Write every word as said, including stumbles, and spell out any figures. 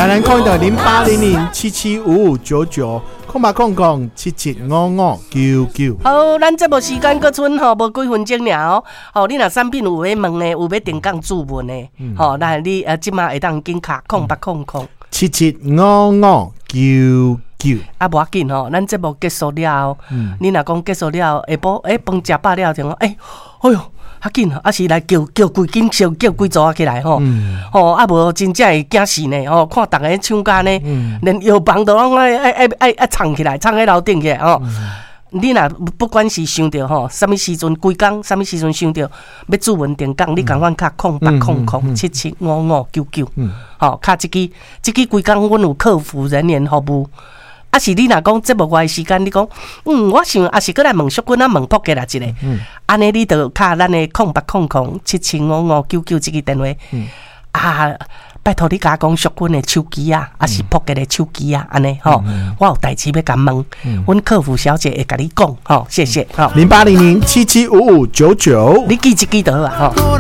台南空的零八零零七七五五九九，空八空空七七五五九九。好，咱節目時間閣賰吼，無幾分鐘爾哦。吼，你若產品有欲問的，有欲定崗注文的，吼，來你呃，這馬會當緊敲空八空空七七五五九九。啊，無要緊吼，咱節目結束了後，你若講結束了後，下晡欸飯食飽了就講，欸，哎喲，較緊，啊是來叫叫規間小叫規組仔起來吼，吼啊無真正會驚死呢吼，看逐个搶甲呢，連藥房都攏愛愛愛愛愛衝起來，衝去樓頂去吼。你若不管是想著吼，啥物時陣規工，啥物時陣想著欲注文定崗，你仝款敲空八空空七七五五九九，吼，敲這支，這支規工阮有客服人員服務。啊是你若講節目外時間，你講，嗯，我想抑是閣來問淑君啊，問朴杰來一下，按呢你就敲咱的空八空空七七五五九九這支電話，啊，拜託你共我講淑君的手機啊，抑是朴杰的手機啊，按呢吼，我有代誌欲共問，阮客服小姐會共你講，吼，謝謝，吼。零八零零七七五五九九，你記這支就好啊，吼。